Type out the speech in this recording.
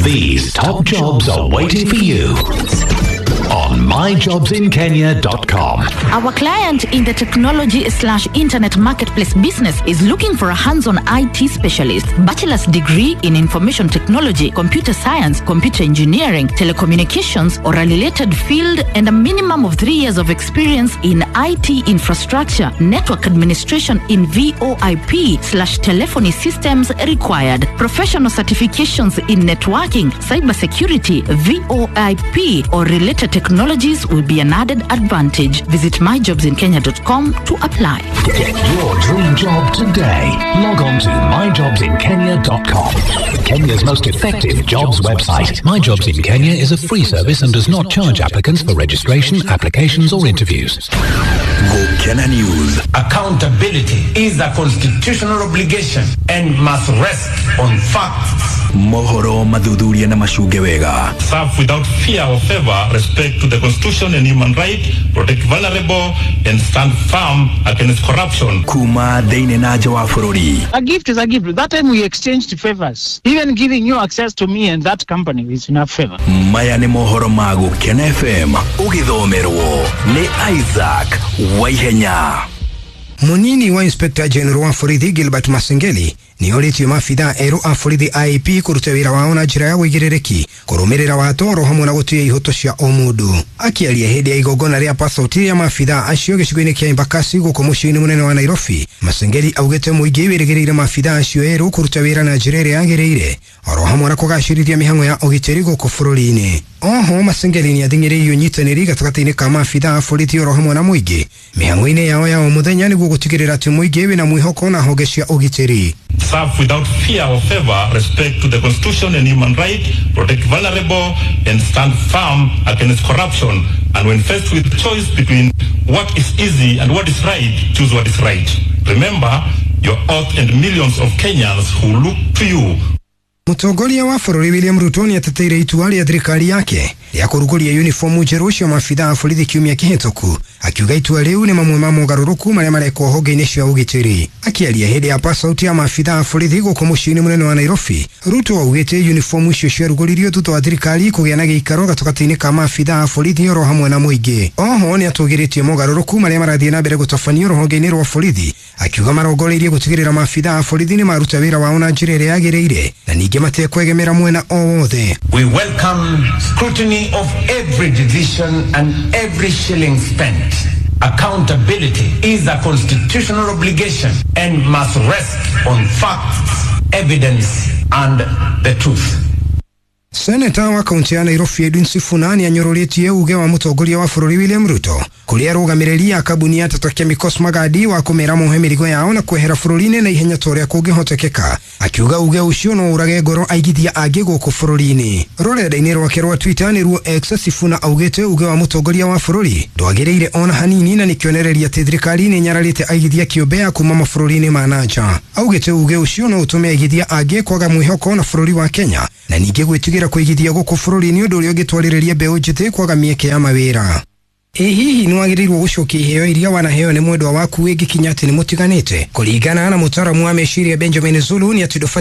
These top jobs are waiting for you on myjobsinkenya.com. Our client in the technology slash internet marketplace business is looking for a hands-on IT specialist, bachelor's degree in information technology, computer science, computer engineering, telecommunications, or a related field, and a minimum of 3 years of experience in IT infrastructure, network administration in VoIP/telephony systems required. Professional certifications in networking, cybersecurity, VoIP, or related technologies will be an added advantage. Visit myjobsinkenya.com to apply. Get your dream job today. Log on to myjobsinkenya.com. Kenya's most effective jobs website. My Jobs in Kenya is a free service and does not charge applicants for registration, applications, or interviews. Gukena News. Accountability is a constitutional obligation and must rest on facts. Mohoro mathuthuria na macunge wega. Serve without fear or favor, respect to the constitution and human right, protect vulnerable, and stand firm against corruption. Kuma thĩinĩ na nja wa bũrũri. A gift is a gift. That time we exchanged favors. Even giving you access to me and that company is enough favor. Maya nĩ mohoro ma Gũkena FM ũgĩthomerwo nĩ Isaac Waihenya. Munini wa Inspector General wa borithi Gilbert Masengeli nĩ orĩtie maabithaa erũ a borithi IAP kũruta wĩra wao na njĩra ya ũigĩrĩrĩki, kũrũmĩrĩra watho oro hamwe na gũtĩa ihoto cia o mũndũ. Akĩaria hĩndĩ ya igongona rĩa passport ya maabithaa acio gĩcigo-inĩ kĩa Embakasi gũkũ mũciĩ-inĩ mũnene wa Nairobi, Masengeli augĩte mũingĩ wĩrĩgĩrĩire maabithaa acio erũ kũruta wĩra na njĩra ĩrĩa yagĩrĩire oro hamwe na kũgacĩrithia mĩhang'o ya ũgitĩri gũkũ bũrũri-inĩ. Oho Masengeli nĩ athing'ĩrĩirie ũnyitanĩri gatagatĩ-inĩ ka maabithaa a borithi oro hamwe na mũingĩ mĩhang'o-inĩ yao ya o mũthenya nĩguo gũtigĩrĩra atĩ mũingĩ wĩna mwĩhoko na honge cia ũgitĩri. Serve without fear or favor, respect to the constitution and human right, protect vulnerable, and stand firm against corruption. And when faced with choice between what is easy and what is right, choose what is right. Remember your oath and millions of Kenyans who look to you. Mũtongoria wa bũrũri William Ruto nĩ ateteire itua rĩa thirikari yake rĩa kũrugũria uniformu njerũ cia maabithaa a borithi kiumia kĩhĩtũku, akiuga itua rĩu nĩ mamwe ma mogarũrũku marĩa marekwo honge-inĩ cia ũgitĩri. Akĩaria hĩndĩ ya pass-out ya maabithaa a borithi gũkũ mũciĩ-inĩ mũnene wa Nairobi, Ruto augĩte uniformu icio ciarugũririo thutha wa thirikari kũgĩa na gĩikaro gatagatĩ-inĩ ka maabithaa a borithi oro hamwe na mũingĩ. Oho nĩ atũgĩrĩtie mogarũrũku marĩa marathiĩ na mbere gũtabanio rũhonge-inĩ rwa borithi, akiuga marongoreirie gũtigĩrĩra maabithaa a borithi nĩ maruta wĩra wao na njĩra ĩrĩa yagĩrĩire na ningĩ matekwegemera mwena o wothe. We welcome scrutiny of every decision and every shilling spent. Accountability is a constitutional obligation and must rest on facts, evidence, and the truth. Seneta wa kaunti ya Nairobi Edwin Sifuna nĩ anyũrũrĩtie uge wa mũtongoria wa bũrũri William Ruto kũrĩ arũgamĩrĩri a kambuni ya Tata Chemicals Magadi wa kũmera mohe mĩrigo yao na kwehera bũrũri-inĩ na ihenya ta ũrĩa kũngĩhotekeka, akiuga uge ũcio no ũrage ngoro aigithia angĩ gũkũ bũrũri-inĩ. Rũrenda-inĩ rwake rwa Twitter, nĩruo X, Sifuna augĩte uge wa mũtongoria wa bũrũri ndwagĩrĩire ona hanini na nĩ kĩonereria atĩ thirikari nĩ nyararĩte aigithia kĩũmbe ya kuma mabũrũri-inĩ ma na nja. Augĩte uge ũcio no ũtũme aigithia angĩ kwaga mwĩhoko na bũrũri wa Kenya na ningĩ gwĩtigĩra kũigithia gũkũ bũrũri-inĩ, ũndũ ũrĩa ũngĩtwarĩrĩria mbeũ njĩthĩ kwaga mĩeke ya mawĩra. Ĩ hihi nĩ wagĩrĩirwo gũcokia iheo iria wanaheo nĩ mwendwa waku ĩngĩkinya atĩ nĩ mũtiganĩte? Kũringana na mũtaaramu wa meciria Benjamin Zulu, nĩ atĩ ndũbatiĩ